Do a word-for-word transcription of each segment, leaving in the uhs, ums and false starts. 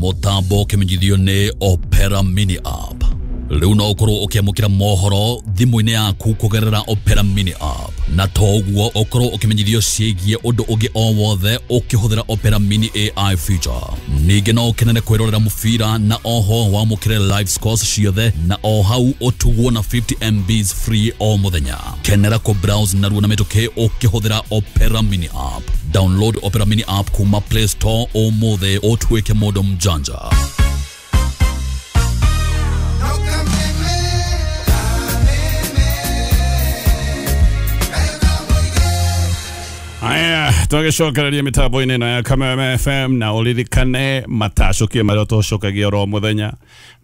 Mũtambo ũkĩmenyithio nĩ Opera Mini App. Rĩu no ũkorwo ũkĩamũkĩra mohoro thimũ-inĩ yaku kũgerera Opera Mini App, na to ũguo ũkorwo ũkĩmenyithio ciĩgiĩ ũndũ ũngĩ o wothe ũkĩhũthĩra Opera Mini A I feature. Ningĩ no ũkenere kwĩrorera mũbira na oho wamũkĩre live scores ciothe na o hau ũtugwo na fifty M Bs free o mũthenya. Kenera kũ browse narua na mĩtũkĩ ũkĩhũthĩra Opera Mini App. Download Opera Mini App kuma Play Store ũmũthĩ ũtuĩke mũndũ mjanja. Aya, twagicokereria mitambo-inĩ ĩno ya Kameme F M na ũririkane matacũkie marĩa tũcokagia oro mũthenya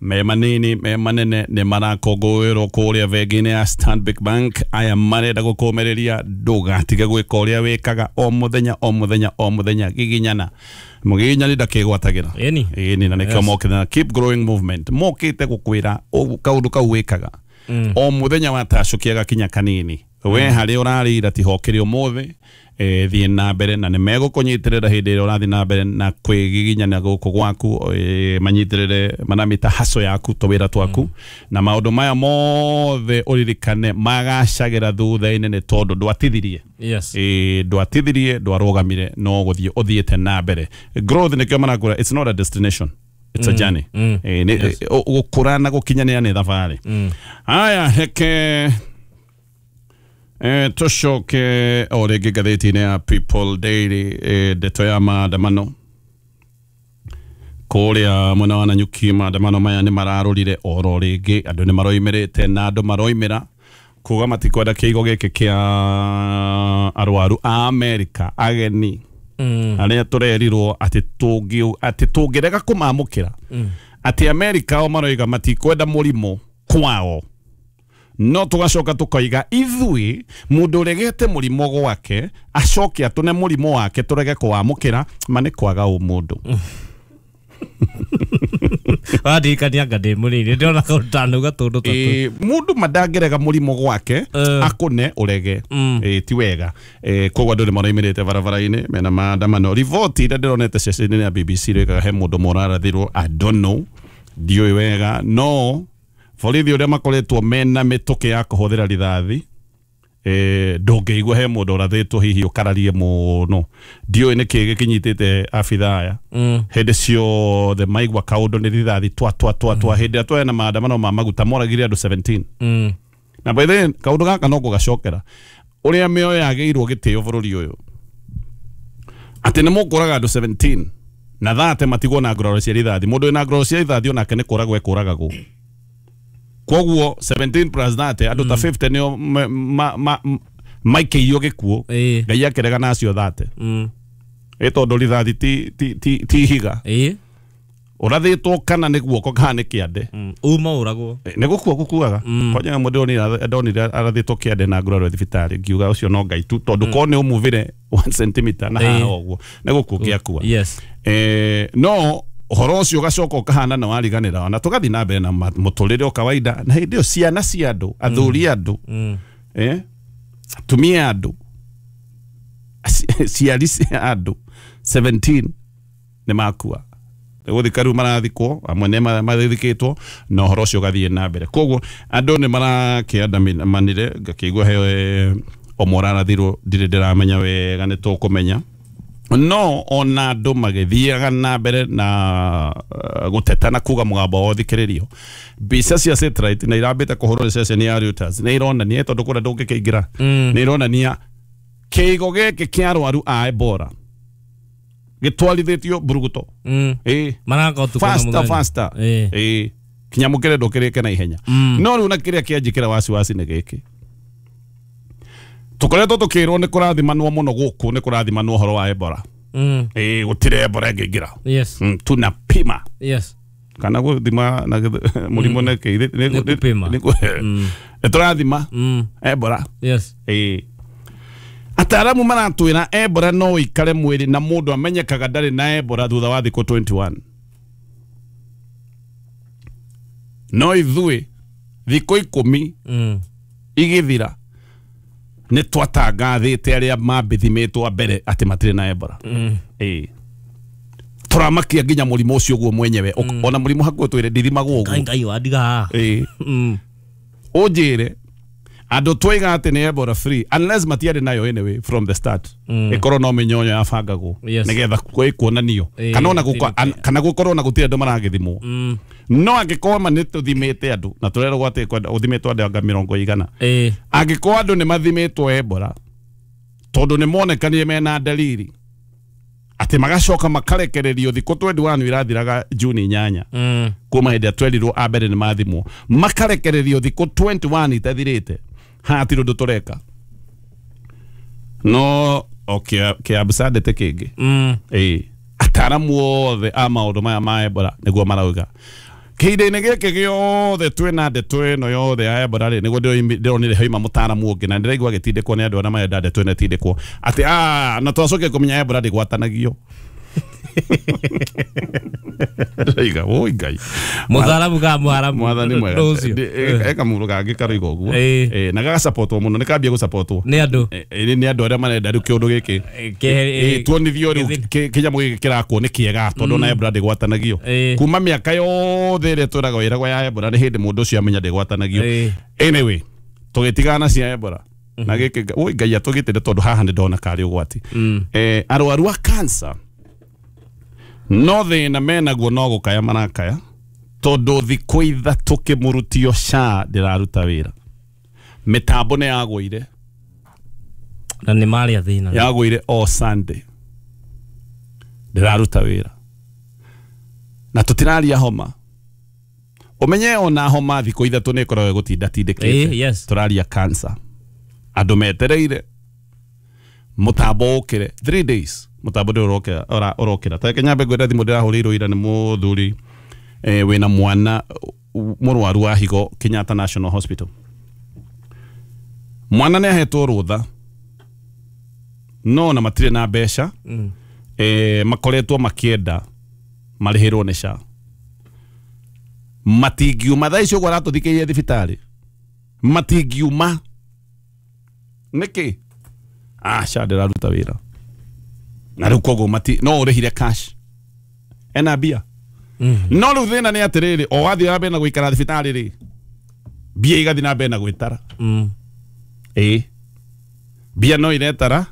me manini me manene nĩ marakũngũĩrwo kũrĩa bengi-inĩ ya Stanbic Bank. Aya marenda gũkũmĩrĩria ndũgatige gwĩka ũrĩa wĩkaga o mũthenya o mũthenya o mũthenya giginyana mũgiginyani ndakĩgwatagĩra ĩni ĩni na nĩkĩo mokĩte na Keep Growing Movement mokĩte gũkwĩra kaũndũ kau wĩkaga o mũthenya watacũkia gakinya kanini we harĩa ũrarĩira tihokĩre ũmũthĩ eh thiĩ na mbere na nĩ megũkũnyitĩrĩra hĩndĩ ĩrĩa ũrathiĩ na mbere na kwĩgiginyana gũkũ gwaku eh, manyitĩrĩre manamĩta haso yaku tũwĩra twaku na maũndũ maya mothe ũririkane magacagĩra thutha-inĩ nĩ tondũ ndwatithirie. Yes. Eh ndwatithirie ndwarũgamire no gũthiĩ ũthiĩte na mbere. Growth nĩkĩo marakũra, it's not a destination, it's a journey. Mm. Eh gũkũra na gũkinyanĩra nĩ thabarĩ. Haya heke Eh, tũcoke o rĩngĩ ngathĩti-inĩ ya People Daily eh, ndeto ya maandamano kũrĩa mwena wa Nanyuki. Maandamano maya nĩ mararũrire oro rĩngĩ, andũ nĩ maroimĩrĩte na andũ maroimĩra kuga matikwenda kĩigo gĩkĩ kĩa arwaru a Amerika ageni mm. arĩa tũrerirwo atĩ tũngĩ atĩ tũngĩrega kũmamũkĩra mm. atĩ Amerika o maroiga matikwenda mũrimũ kwao, no tugacoka tukaiga ithui mundu uregete murimo gwake acoke atune murimo wake turege kwamukira ma nĩ kwaga umundu. Wandirikania anga ndĩ mũnini ndĩrona kaũndũ tanauga tũndũ ta tũu. Mundu mandangĩrega mũrimũ gwake akune ũrege ti wega. Koguo andũ nĩ maroimĩrĩte barabara-inĩ mena maandamano. Riboti iria ndĩronete ceceni-inĩ ya B B C rĩkaga he mũndũ mũrarathirwo, I don't know, ndiũĩ wega, no borithi ũrĩa makoretwo mena mĩtũkĩ ya kũhũthĩra rithathi eh ndũngĩigua he mũndũ ũrathĩtwo hihi ũkararie mũno. Ndiũĩ nĩkĩ gĩkĩnyitĩte abithaa aya hĩndĩ ciothe maigua kaũndũ nĩ rithathi twa twa twa twa. Hĩndĩ ĩrĩa twena maandamano ma maguta moragire andũ seventeen. Na by the way kaũndũ gaka no gũgacokera ũrĩa mĩoyo yagĩirwo gĩtĩo bũrũri ũyũ atĩ nĩ mũkũraga andũ seventeen na thate matigwo na nguraro cia rithathi. Mũndũ wĩna nguraro cia rithathi onake nĩ kũragwo ekũragagwo. Koguo seventeen plus thirty andũ ta fifty nĩo maikĩirio gĩkuũ Ngai akĩrega nacio thate ĩ tondũ rithathi ti ti ti ihiga ũrathĩtwo kana nĩ guoko kana nĩ kĩande uma ũragwo nĩ gũkua gũkuaga. Kwanja mũndũ ndonire arathĩtwo kĩande na nguraro thibitarĩ ngiuga ũcio no Ngai tu tondũ korwo nĩ ũmuvire one centimeter na haha ũguo nĩ gũkua gĩakua. Eh no ũhoro ũcio ũgacoka ũkahana na wariganĩra na tũgathiĩ na mbere na mũtũrĩre o kawaida. Na hĩndĩ ĩyo ciana cia andũ, athuri andũ, eh atumia andũ, ciari cia andũ seventeen nĩ makua. Gũthika rĩu marathikwo, amwe nĩ mathikĩtwo na ũhoro ũcio ũgathiĩ na mbere. Koguo andũ nĩ marakĩandamanire ngakĩigua he ũmwe ũrarathirwo ndirĩ ndĩramenya wega nĩ tũkũmenya. No ona andũ magĩthiaga na mbere na gũteta na kuga mũgambo wao thikĩrĩrio. Mbica cia satellite na irambĩte kũhũrwo nĩ ceceni ya Reuters nĩ ironania tondũ kũrĩa ndũngĩkĩingĩra nĩ ironania kĩigo gĩkĩ kĩa arwaru a Ebola gĩtwarithĩtio mburuguto ĩ faster faster ĩ kinya mũkĩre ndũkĩrĩke na ihenya. No rĩu na kĩrĩa kĩanjĩkĩra wasiwasi nĩ gĩkĩ tũkoretwo tũkĩrwo nĩ kũrathimanwo mũno gũkũ nĩ kũrathimanwo ũhoro wa Ebola. Mm. Eh gũtirĩ Ebola ĩngĩingĩra. Yes. Mm, tunapima. Yes. Kana gũthima na mũrimũ nĩ kĩ nĩ kũpima. Nĩ tũrathima Ebola. Yes. Eh ataaramu maratwĩra Ebola no ĩikare mwĩrĩ na mũndũ amenyekaga ndarĩ na Ebola thutha wa thikũ twenty-one. No ithuĩ thikũ ikũmi igĩthira nĩ twatangathĩte arĩa mambĩthimĩtwo mbere atĩ matirĩ na Ebola. Ĩĩ. Turamakia nginya mũrimũ ũcio guo mwenyewe. Mm. Ona mũrimũ hakuo twire ndithimagwo ũguo. Ngai ngai wandiga. Eh. Mm. Ũnjĩre andũ twaiga atĩ nĩ Ebola free unless matiarĩ nayo anyway from the start. Mm. Ĩkorwo no mĩnyonyo yabangagwo yes. Nĩgetha kuonanio kana ona kana gũkorwo na gũtirĩ andũ maragĩthimwo. Mm. No angĩkorwo ma nĩ tũthimĩte andũ na tũrerwo atĩ ũthimĩtwo andũ anga mĩrongo igana. Eh. Angĩkorwo andũ nĩ mathimĩtwo Ebola tondũ nĩ monekanire mena dalili atĩ magacoka makarekererio thikũ twenty-one irathiraga Juni inyanya. Mm. Kuma hĩndĩ ĩrĩa twerirwo a mbere nĩ mathimwo makarekererio thikũ twenty-one itathirĩte hatirĩ ũndũ tũreka no o kĩabsandĩte kĩngĩ. Mm. Ĩĩ ataramu othe a maũndũ maya ma Ebola nĩguo marauga kĩhinda-inĩ gĩkĩ gĩothe twĩna ndeto ĩno yothe ya Ebola rĩ nĩguo ndĩronire haima mũtaramu ũngĩ na ndĩraigua agĩtindĩkwo nĩ andũ arĩa marenda ndeto ĩno ĩtindĩkwo atĩ ah na twacoke kũmenya Ebola ndĩgwatanagio. Ndĩraiga oi Ngai mũtharamu ka mũharamu mwathani mwega eka mũndũ kangĩ karoiga ũguo na gagasapotwo mũno nĩ kambia gũsapotwo nĩ andũ nĩ andũ arĩa marenda rĩu kĩũndũ gĩkĩ tuonithio rĩu kĩnyamũ gĩkĩ kĩrakwo nĩ kĩega tondũ na Ebola ndĩgwatanagio kuma mĩaka yothe ĩrĩa twĩragwo ĩragwo ya Ebola nĩ hĩndĩ mũndũ ũcio amenya ndĩgwatanagio. Anyway tũgĩtigana na cia Ebola na gĩkĩ oi Ngai atũgitĩre tondũ haha nĩ ndona karĩ ũgwati. Arwaru a cancer no thĩna menaguo no gũkaya marakaya tondũ thikũ ithatũ kĩmũrutio SHA ndĩraruta wĩra mĩtambo nĩ yagũire na nĩ marĩa thĩna yagũire o Sunday ndĩraruta wĩra na tũtiraria homa ũmenye ona homa thikũ ithatũ nĩ ĩkoragwo ĩgũtinda tindĩkĩte. Yes. Tũraria cancer andũ metereire mũtambo ũkĩre three days mutambo ndĩ ũrokĩra ũrokĩra ta reke nyambe ngwĩre thimũ ndĩrahũrĩirwo ira nĩ mũthuri eh, wĩna mwana mũrwaru wa higo Kenyatta National Hospital. Mwana nĩ ahetwo rũtha no na matirĩ na mbeca. Mm. Eh, makoretwo makĩenda marĩhĩrwo nĩ SHA matingiuma thaa icio ũguo aratũthikĩirie thibitarĩ matingiuma nĩkĩ ah SHA ndĩraruta wĩra na rĩu koguo mati no ũrĩhire cash ena mbia. Mm. No rĩu thĩna nĩ atĩrĩrĩ o wathiĩ na mbere na gũikara thibitarĩ rĩ mbia igathiĩ na mbere na gwĩtara. Mm. Ĩĩ mbia no iretara.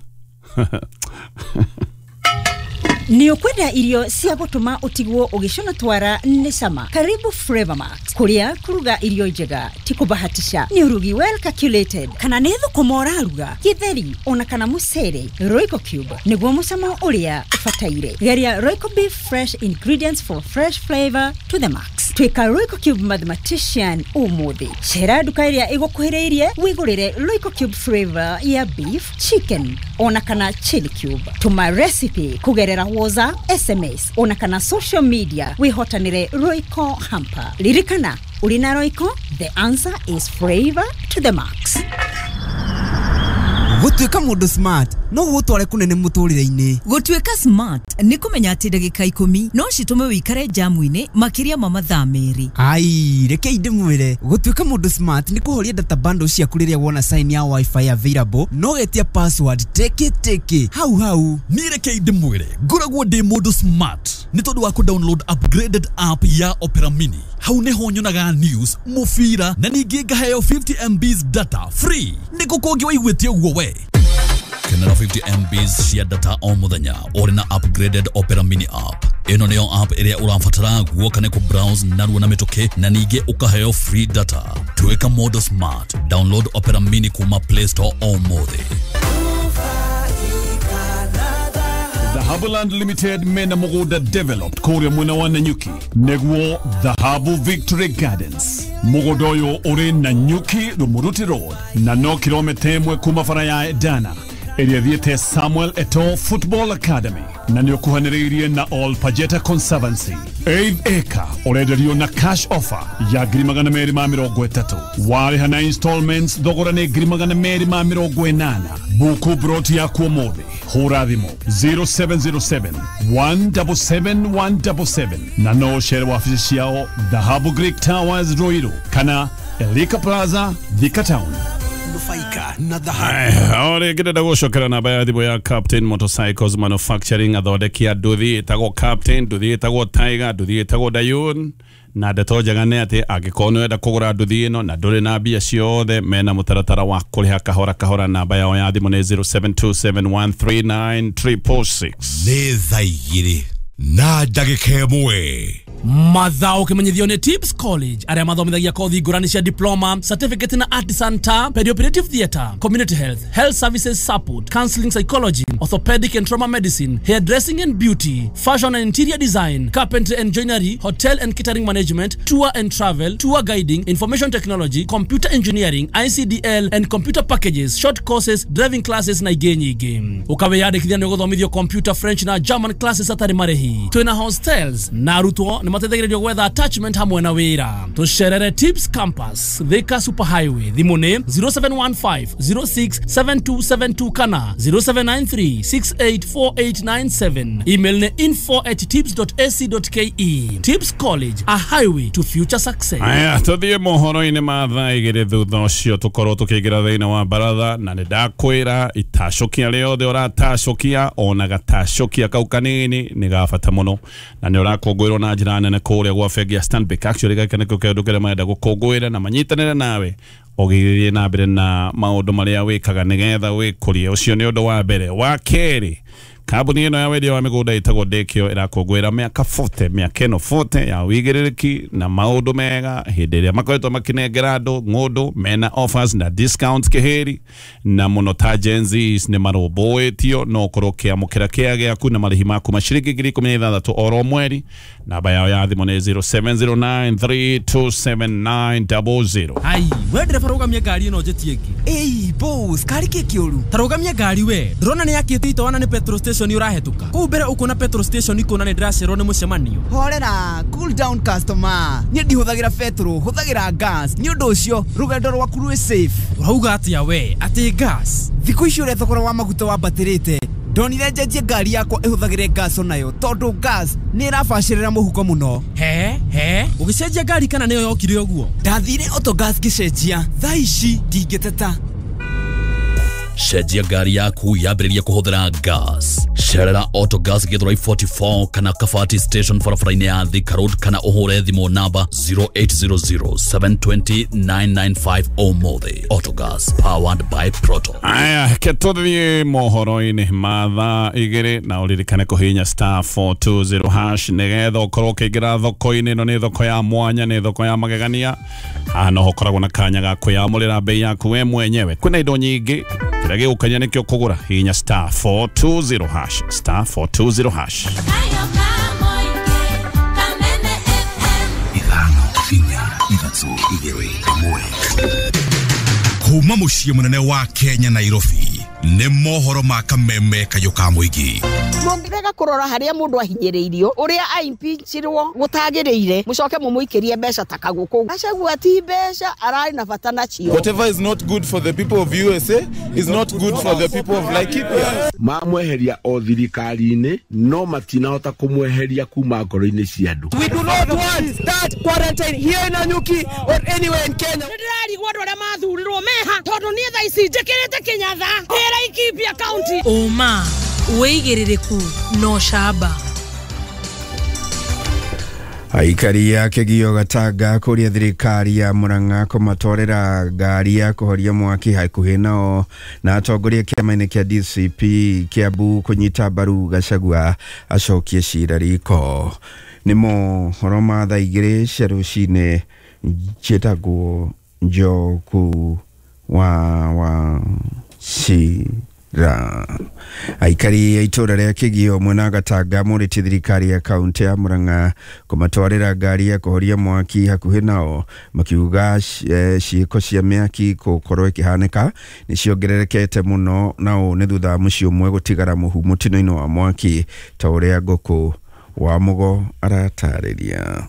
Nĩ ũkwenda irio cia gũtũma ũtigwo ũgĩcũna twara nĩ cama. Karibu Flavor Max kũrĩa kũruga irio njega ti kũbahatisha nĩ ũrugi well calculated kana nĩ thũkũma ũraruga gĩtheri ona kana mũcere. Royco Cube nĩguo mũcamo ũrĩa ũbataire. Geria Royco Beef fresh ingredients for fresh flavor to the max. Tuĩka Royco Cube mathematician ũmũthĩ. Cera nduka ĩrĩa ĩgũkuhĩrĩirie wĩgũrĩre Royco Cube flavor ya beef, chicken ona kana chili cube. Tũma recipe kũgerera WhatsApp, S M S ona kana social media wihotanire Royco hamper. Lirikana uri na Royco, the answer is flavor to the max. Gũtuĩka mũndũ smart no gũgũtware kũnene mũtũrĩre-inĩ. Gũtuĩka smart nĩ kũmenya atĩ ndagĩka ikũmi no citũme wĩikare jamu-inĩ makĩria ma mathaa merĩ. Ai, reke ndĩmwĩre gũtuĩka mũndũ smart nĩ kũhoria data bundle ciaku rĩrĩa wona sign ya wifi available no getia password teke teke hau hau. Niĩ reke ndĩmwĩre ngoragwo ndĩ mũndũ smart nĩ tondũ wa kũ-download upgraded app ya Opera Mini. Hau nĩho nyonaga news, mũbira na ningĩ ngaheo fifty M Bs data free. Nĩkũ kũngĩ waiguĩte ũguo we? Kenera fifty M Bs cia data o mũthenya ũrĩ na upgraded Opera Mini app. Ĩno nĩyo app ĩrĩa ũrabatara guoka nĩ kũ-browse narua na mĩtũkĩ na ningĩ ũkaheo free data. Tuĩka mũndũ smart. Download Opera Mini kuma Play Store ũmũthĩ. Dhahabuland Limited mena mũgũnda developed kũrĩa mwena wa Nanyuki nĩguo Dhahabu Victory Gardens. Mũgũnda ũyũ ũrĩ Nanyuki Rumuruti Road na no kilomita ĩmwe kuma bara ya Edana ĩrĩa ĩthiĩte Samuel Eto'o Football Academy na nĩ ũkuhanĩrĩirie na All Pajeta Conservancy. Eighth acre ũrenderio na cash offer ya ngiri magana merĩ ma mĩrongo ĩtatũ warĩha na installments thogora nĩ ngiri magana merĩ ma mĩrongo ĩnana. Buku broti yaku ũmũthĩ hũra thimũ zero seven zero seven one seven seven one seven seven na no ũcere wabici ciao Dhahabu Greek Towers Ruiru kana Elika Plaza Thika Town. Nufaika na dhahabu. O rĩngĩ ndĩrenda gũcokera namba ya thimũ ya Captain Motorcycles Manufacturing, athondeki a nduthi ĩtagwo Captain, nduthi ĩtagwo Tiger, nduthi ĩtagwo Dayun. Na ndeto njega nĩ atĩ angĩkorwo nĩ ũrenda kũgũra nduthi ĩno na ndũrĩ na mbia ciothe, mena mũtaratara wa kũrĩha kahora kahora. Namba yao ya thimũ nĩ zero seven two seven one three nine triple six. Nĩ thaa igĩrĩ na ndagĩka ĩmwe. Mathao kimenyithio ni Tips College aria mathomithagia kothi ngurani cia diploma, certificate na artisan ta perioperative theatre, community health, health services support, counseling psychology, orthopedic and trauma medicine, hairdressing and beauty, fashion and interior design, carpentry and joinery, hotel and catering management, tour and travel, tour guiding, information technology, computer engineering, I C D L and computer packages, short courses, driving classes na ingĩ nyingĩ. Ukawiyandĩkithia nĩ ũgũthomithio computer, French na German classes atarĩ marĩhi. Twĩna hostels na arutwo nĩ mateithagĩrĩrio gwetha attachment hamwe na wĩra. Tũcerere Tips Campus, Thika Super Highway. Thimũ nĩ zero seven one five zero six seven two seven two kana zero seven nine three six eight four eight nine seven. Email nĩ info at tips dot a c dot k e. Tips College, a highway to future success. Aya, tũthiĩ mohoro-inĩ ma thaa igĩrĩ thutha ũcio tũkorwo tũkĩingĩra thĩinĩ wa baratha, na nĩ ndakwĩra itacũkia rĩothe ũratacũkia ona gatacũkia kau kanini nĩ ga bata mũno, na nĩ ũrakũngũĩrwo na njĩra nene kũrĩa gwa bengi ya Stanbic. Actually gaka nĩkĩo kĩndũ kĩrĩa marenda gũkũngũĩra na manyitanĩre nawe ũgĩthiĩ na mbere na maũndũ marĩa wĩkaga nĩgetha wĩkũrie. Ũcio nĩ ũndũ wa mbere. Wa kerĩ, kambuni ĩno ya wendia wa mĩgũnda ĩtagwo Dekio ĩrakũngũĩra mĩaka forty, mĩaka ĩno forty ya wĩigĩrĩrĩki na maũndũ mega hĩndĩ ĩrĩa makoretwo makĩnengera andũ ng'ũndũ mena offers na discounts kĩhĩri, na mũno ta Gen Zs nĩ marũmbũĩtio no ũkorwo ũkĩamũkĩra kĩa gĩaku na marĩhi maku ma ciringi ngiri ikũmi na ithathatũ oro mweri. Namba yao ya thimũ nĩ zero seven zero nine three two seven nine double zero. Ai, we ndereba rũgamia ngari ĩno njĩtie ĩngĩ. Ĩi boss, kari kĩ kĩũru? Ta rũgamia ngari we, ndĩrona nĩ yakĩte itoana nĩ petrol station urahetuka kuu mbere ukona petrol station ikona nĩ ndĩracerwo nĩ mũcemanio. Horera, cool down customer. Niĩ ndihũthagĩra petrol, hũthagĩra gas. Nĩ ũndũ ũcio rũgendo rwaku rwĩ safe. Ũrauga atĩa we atĩ gas? Thikũ ici ũrĩa thogora wa maguta wambatĩrĩte, ndonire njenjie ngari yakwa ĩhũthagĩre gas onayo tondũ gas nĩ ĩrabacĩrĩra mũhuko mũno. He he, ũgĩcenjia ngari kana nĩyo yokire ũguo? Ndathire Autogas ngĩcenjia, thaa ici ndingĩteta. Cenjia ngari yaku yambĩrĩrie kũhũthĩra gas. Cerera Autogas Githurai forty-four kana Kabati Station barabara-inĩ ya Thika Road kana ũhũre thimũ namba zero eight zero zero seven two zero nine nine five ũmũthĩ. Autogas, powered by Proto. Aya, ke tũthiĩ mohoro-inĩ ma thaa igĩrĩ na ũririkane kũhihinya star four two zero hash nĩgetha ũkorwo ũkĩingĩra thoko-inĩ ĩno. Nĩ thoko ya mwanya, nĩ thoko ya magegania. Haha no ũkoragwo na kanya ga kwĩyamũrĩra bei yaku we mwenyewe. Kwĩna indo nyingĩ, kĩrĩa gĩgũkenia nĩkĩo kũgũra. Hihinya star four two zero hash, star four two zero hash. Ithano inya ithatũ igĩrĩ ĩmwe. Kuma mũciĩ mũnene wa Kenya Nairobi nĩ mohoro ma kameme kayũ ka mũingĩ. Mũngĩrega kũrora harĩa mũndũ ahinyĩrĩirio, ũrĩa aimpeachirwo gũtagĩrĩire, mũcoke mũmũikĩrie mbeca ta kagũkũ. Gachagua ti mbeca ararĩ na bata nacio. Whatever is not good for the people of U S A is not good for the people of Laikipia. Mamweheria o thirikari-inĩ no matinahota kũmweheria kuma ngoro-inĩ cia andũ. We do not want that quarantine here in Nanyuki or anywhere in Kenya. Ndĩrarigwo andũ arĩa mathurirwo meha tondũ niĩ thaa ici njĩkĩrĩte Kĩnyatha Laikipia County. Ũma wĩigĩrĩrĩku no camba. Aikari ya Kĩgio Gatanga kũria thirikari ya Murang'a kũmatwarĩra ngari ya kũhoria mwaki hakuhĩ nao, na atongoria kĩama-inĩ kĩa D C P Kiambu kũnyita mbaru Gachagua acokie cira riko. Nĩ mohoro ma thaa igĩrĩ cia rũcinĩ. Njĩtagwo Njoku wa wa Cira. Aikari ya itũra rĩa Kĩgio mwena Gatanga morĩtie thirikari ya kaunti ya Murang'a kũmatwarĩra ngari ya kũhoria mwaki hakuhĩ nao, makiuga ciĩko cia mĩaki gũkorwo ĩkĩhanĩka nĩ ciongererekete mũno, na ũũ nĩ thutha wa mũciĩ ũmwe gũtigara mũhu mũtino-inĩ wa mwaki ta ũrĩa Ngũkũ wa Mũgo aratarĩria.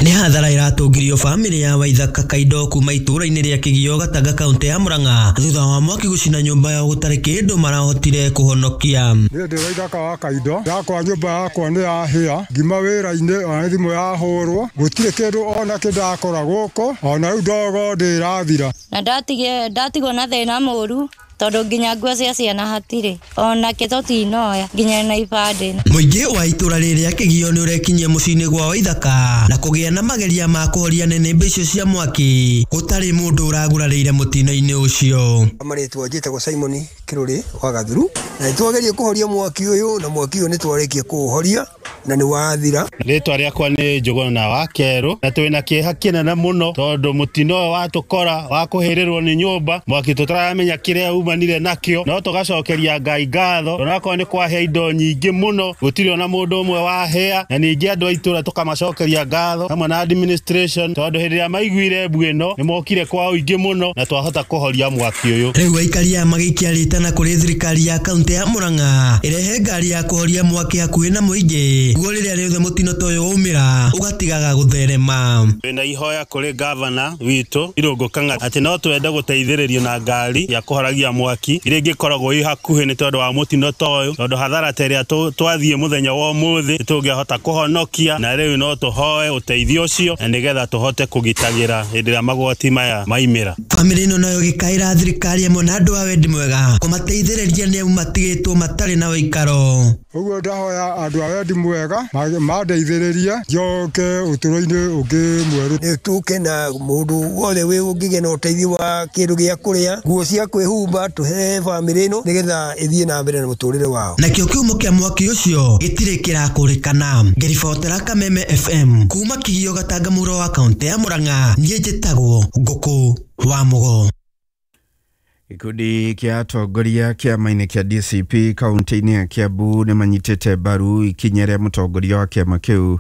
Nĩ hathara ĩratũngirio bamĩrĩ ya Waithaka Kaindo kuma itũũra-inĩ rĩa Kĩgio Gatanga kaũntĩ ya Murang'a thutha wa mwaki gũcina nyũmba yao gũtarĩ kĩndũ marahotire kũhonokia. Niĩ ndĩ Waithaka wa Kaindo, yakwa nyũmba yakwa nĩ yahĩa, ngima wĩra-inĩ ona thimũ yahũrwo, gũtirĩ kĩndũ ona kĩ ndakora gũkũ, ona rĩu ndogo ndĩrathira. Na ndatige ndatigwo na thĩna mũru tondu nginya nguo cia ciana hatirĩ ona kĩ tũtinoya nginya na ibandĩ. Mũingĩ wa itũra rĩrĩa Kĩgio nĩ ũrekinyia mũciĩ-inĩ gwa Waithaka na kũgĩa na mageria ma kũhoria nĩnĩmbĩ icio cia mwaki gũtarĩ mũndũ ũragurarĩire mũtino-inĩ ũcio. Marĩtwa njĩtagwo Simon Kĩrũrĩ wa Gathuru na nĩtwageria kũhoria mwaki ũyũ na mwaki ũyũ nĩtwarĩkia kũũhoria na nĩ wathira. Rĩtwa rĩakwa nĩ Njũgũna wa Kerũ na twĩna kĩeha kĩnene mũno tondũ mũtino ũyũ watũkora wa kũhĩrĩrwo nĩ nyũmba mwaki tũtaramenya kĩrĩa umanire nakĩo, no tũgacokeria Ngai ngatho onakorwo nĩ kwahĩa indo nyingĩ mũno gũtirĩ ona mũndũ ũmwe wahĩa, na ningĩ andũ a itũra tũkamacokeria ngatho hamwe na administration tondũ hĩndĩ ĩrĩa maiguire mbu ĩno nĩ mokire kwa ũingĩ mũno na twahota kũhoria mwaki ũyũ. Rĩu aikari aya magĩikia rĩtana kũrĩ thirikari ya kaũntĩ ya Murang'a ĩrehe ngari ya kũhoria mwaki hakuhĩ na mũingĩ guo rĩrĩa rĩothe mũtino ta ũyũ waumĩra ũgatigaga gũtherema. Twĩna ihoya kũrĩ gavana witũ Irũngũ Kang'ata atĩ no twende gũteithĩrĩrio na ngari ya kũhoragia mwaki ĩrĩa ĩngĩkoragwo ĩ hakuhĩ nĩ tondũ wa mũtino ta ũyũ, tondũ hathara ta ĩrĩa twathiĩ mũthenya wa ũmũthĩ tũngĩahota kũhonokia, na rĩu no tũhoe ũteithio ũcio na nĩgetha tũhote kũgitagĩra hĩndĩ ĩrĩa magwati maya maimĩra. Bamĩrĩ ĩno nayo ĩgĩkaĩra thirikari ĩmwe na andũ a wendi mwega kũmateithĩrĩria nĩ amu matigĩtwo matarĩ na ũikaro. Ũguo ndahoya andũ a wendi mwega mandeithĩrĩrie njoke ũtũũro-inĩ ũngĩ mwerũ. Nĩ tũke na mũndũ wothe wĩ ũngĩgĩa na ũteithio wa kĩndũ gĩa kũrĩa, nguo cia kwĩhumba tũhe bamĩrĩ ĩno nĩgetha ĩthiĩ na mbere na mũtũrĩre wao. Nakĩo kĩhumo kĩa mwaki ũcio gĩtirĩ kĩrakũrĩkana. Ngĩribotera Kameme F M kuma Kĩgio Gatanga mũhuro wa kaũntĩ ya Murang'a, niĩ njĩtagwo Ngũkũ wa Mũgo. Gĩkundi kĩa atongoria kĩama-inĩ kĩa D C P kaũntĩ-inĩ ya Kiambu nĩ manyitĩte mbaru ikinya rĩa mũtongoria wa kĩama kĩu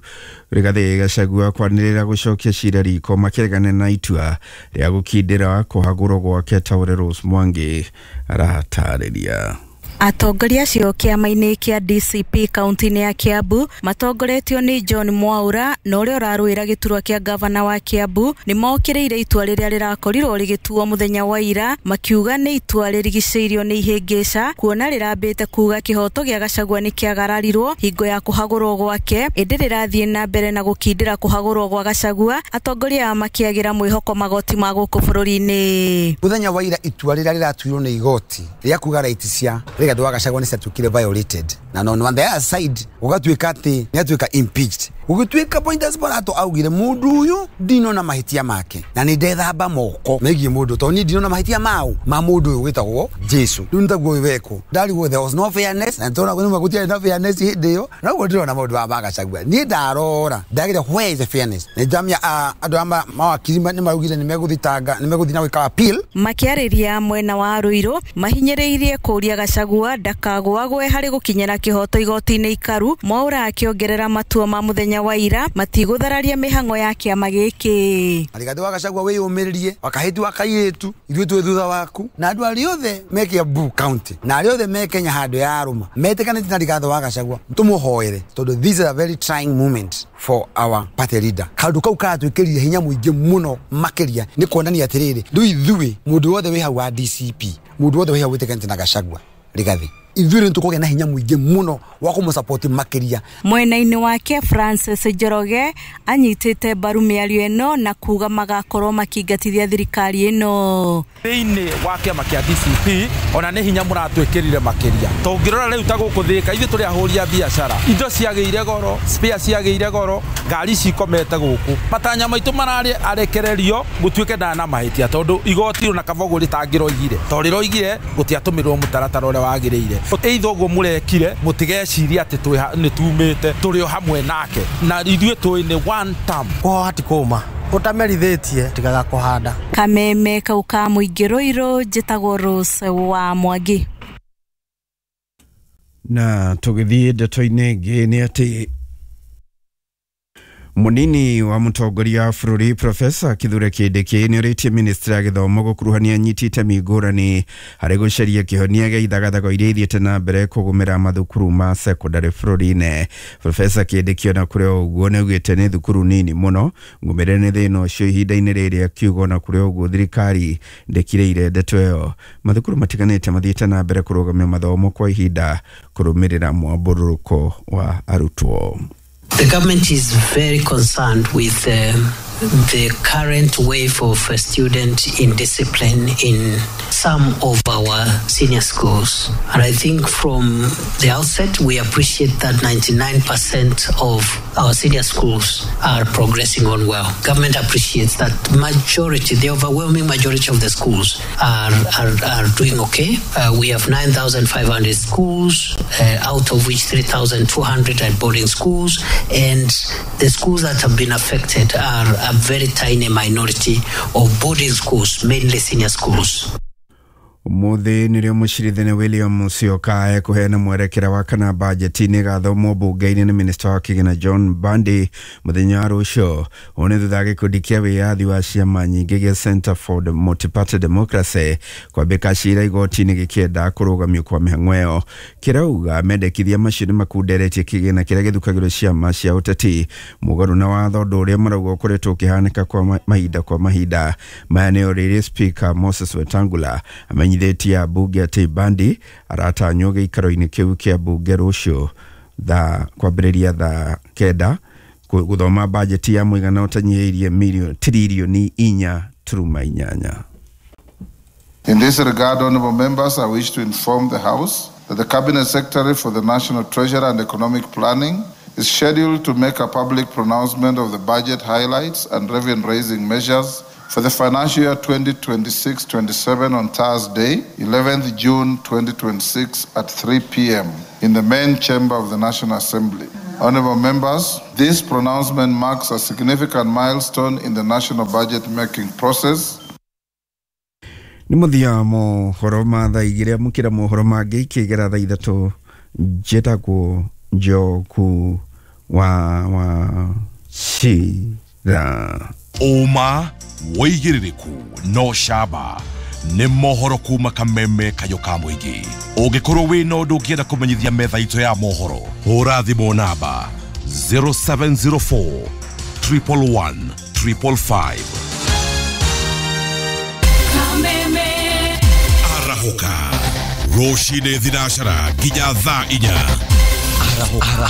Rigathĩ Gachagua kwanĩrĩra gũcokia cira riko makĩregana na itua rĩa gũkindĩra kũhagũrwo gwake ta ũrĩa Rose Mwangi aratarĩria. Atongoria acio kĩama-inĩ kĩa D C P kaũntĩ-inĩ ya Kiambu matongoretio nĩ John Mwaura na ũrĩa ũrarũĩra gĩturwa kĩa gavana wa Kiambu nĩ mokĩrĩire itua rĩrĩa rĩrakorirwo rĩgĩtuo mũthenya wa ira, makiuga nĩ itua rĩrigicĩirio nĩ ihĩngĩca kuona rĩrambĩte kuga kĩhoto gĩa Gachagua nĩ kĩagararirwo hingo ya kũhagũrwo gwake, ĩndĩ rĩrathiĩ na mbere na gũkindĩra kũhagũrwo gwa Gachagua, atongoria aya makĩagĩra mwĩhoko magoti ma gũkũ bũrũri-inĩ. Mũthenya wa ira itua rĩrĩa rĩratuirwo nĩ igoti rĩa kuga right cia Rigathi wa Gachagua nĩ ciatuĩkire violated na no on the other side gũgatuĩka atĩ nĩ atuĩka impeached. Gũgĩtuĩka Pointers Borato augire mũndũ ũyũ ndinona mahĩtia make na nĩ ndethamba moko megiĩ mũndũ tondũ niĩ ndinona mahĩtia mau ma mũndũ ũyũ wĩtagwo Jesu. Rĩu nĩ taguo wekwo ndarigwo there was no fairness na tondũ nĩ gũtiarĩ na fairness hĩndĩ ĩyo, na ũguo ndĩrona maũndũ maya ma Gachagua niĩ ndarora ndagire where is the fairness. Nĩ ndamia andũ a mawakiri nĩ maraugire nĩ megũthitanga nĩ megũthiĩ na gwĩka appeal. Makĩarĩria mwena wa Ruiru mahinyĩrĩirie kũũria Gachagua ndakagũagwe harĩ gũkinyĩra kĩhoto igoti-inĩ ikaru. Mwaura akĩongerera matua ma mũthenya wa ira matigũthararia mĩhang'o ya kĩama gĩkĩ. Rigathi wa Gachagua wĩyũmĩrĩrie wakahĩtu wa kairĩtu ithuĩ twĩ thutha waku na andũ arĩa othe me Kiambu county na arĩa othe me Kenya handũ ya arũma metĩkanĩte na Rigathi wa Gachagua tũmũhoere tondũ this is a very trying moment for our party leader. Kaũndũ kau karatwĩkĩrire hinya mũingĩ mũno makĩria nĩ kuonania atĩrĩrĩ rĩu ithuĩ mũndũ wothe wĩ hau wa D C P mũndũ wothe wĩ hau wĩtĩkanĩte na Gachagua Rigathi ithuĩ nĩ tũkũgĩa na hinya mũingĩ mũno wa kũmũsupport makĩria. Mwena-inĩ wake Francis Njoroge anyitĩte mbaru mĩario ĩno na kuga magakorwo makĩingatithia thirikari ĩno. Thĩinĩ wa kĩama kĩa D C P ona nĩ hinya mũratwĩkĩrire makĩria tũngĩrora rĩu ta gũkũ Thĩka ithuĩ tũrĩ ahũri a biacara indo ciagĩire goro spare ciagĩire goro ngari cikomete gũkũ matanya maitũ mararĩ arekererio gũtuĩke ndana na mahĩtia tondũ igoti ona Kavogo rĩtangĩroigire tondũ rĩroigire gũtiatũmĩrwo mũtaratara ũrĩa wagĩrĩire. Eitho ũguo mũrekire mũtigecirie atĩ nĩ tumĩte tũrĩ o hamwe nake na ithuĩ tũĩ nĩ one term. Kũhoha ti kũma ũtamerithĩtie tigaga kũhanda. Kameme kau ka mũingĩ Ruiru, njĩtagwo Rose wa Mwangi. Na tũgĩthiĩ ndeto-inĩ ĩngĩ nĩ atĩ Munini wa mutongoria wa bũrũri Profesa Kithure Kindiki nĩorĩtie ministry ya gĩthomo gũkuruhania anyiti itemi ngũrani harĩ gũcaria kĩhonia gĩa ithagathago iria ithiĩte na mbere kũgũmĩra mathukuru ma sekondari bũrũri-inĩ. Profesa Kindiki ona kũrĩ o ũguo nĩaugĩte nĩ thukuru nini mũno ngũmĩre nĩ thĩna ũcio ihinda-inĩ rĩrĩ, akiuga ona kũrĩ o ũguo thirikari ndĩkirĩire ndeto ĩyo. Mathukuru matiganĩte mathiĩte na mbere kũrũgamia mathomo kwa ihinda kũrũmĩrĩra mwambũrũrũko wa arutwo. The government is very concerned with uh, the current wave of uh, student indiscipline in some of our senior schools. And I think from the outset, we appreciate that ninety-nine percent of our senior schools are progressing on well. Government appreciates that majority, the overwhelming majority of the schools are, are, are doing okay. Uh, we have nine thousand five hundred schools, uh, out of which three thousand two hundred are boarding schools. And the schools that have been affected are a very tiny minority of boarding schools, mainly senior schools. Umuthi nĩrĩo mũcirithania William Musyoka ekũheana mwerekera wa kana bajeti nĩ ĩgathomwo mbunge-inĩ nĩ minista wa kĩgĩna John Mbadi mũthenya wa rũciũ. Ũũ nĩ thutha wa gĩkundi kĩa wĩyathi wa ciama nyingĩ gĩa Center for the Multi-Party Democracy kwambĩka cira igoti-inĩ gĩkĩenda kũrũgamio kwa mĩhang'o ĩyo. Kĩrauga mendekithia macio nĩ makunderetie kĩgĩna kĩrĩa gĩthukagĩrwo ciama cia ũteti mũgarũ na watho, ũndũ ũrĩa marauga ũkoretwo ũkĩhanĩka kwa mahinda kwa mahinda. Maya nĩo rĩrĩ Speaker Moses Wetangula amenyithĩtie mbunge atĩ Mbadi aratanywo gĩikaro-inĩ kĩu kĩa mbunge rũciũ thaa kwambĩrĩria thaa kenda gũthoma bajeti ya mũigana ũtanyihĩirie milioni tiririoni inya turuma inyanya. In this regard, honorable members, I wish to inform the House that the Cabinet Secretary for the National Treasury and Economic Planning is scheduled to make a public pronouncement of the budget highlights and revenue-raising measures for the financial year twenty twenty-six twenty-seven on Thursday, eleventh June twenty twenty-six at three p m in the main chamber of the National Assembly. Honorable members, this pronouncement marks a significant milestone in the national budget-making process. Nĩ mũthia mohoro ma thaa igĩrĩ, amũkĩra mohoro mangĩ ikĩgera thaa ithatũ. Njĩtagwo Njoku wa wa Cira. Ũma wĩigĩrĩrĩku no camba nĩ mohoro kuma Kameme Kayũ ka mũingĩ. Ũngĩkorwo wĩna ũndũ ũngĩenda kũmenyithia metha itũ ya mohoro, hũra thimũ namba zero seven zero four triple one triple five. Kameme Arahũka rũcinĩ thinacara nginya thaa inya. Arahũka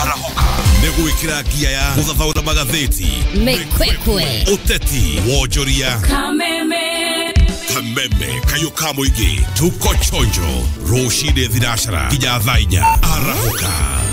Arahũka nĩ gwĩkĩra ngia ya gũthathaũra magathĩti, Mĩkwekwe, ũteti, wonjoria. Kameme Kameme Kayũ ka mũingĩ, tuko chonjo rũcinĩ thinacara nginya thaa inya. Arahũka.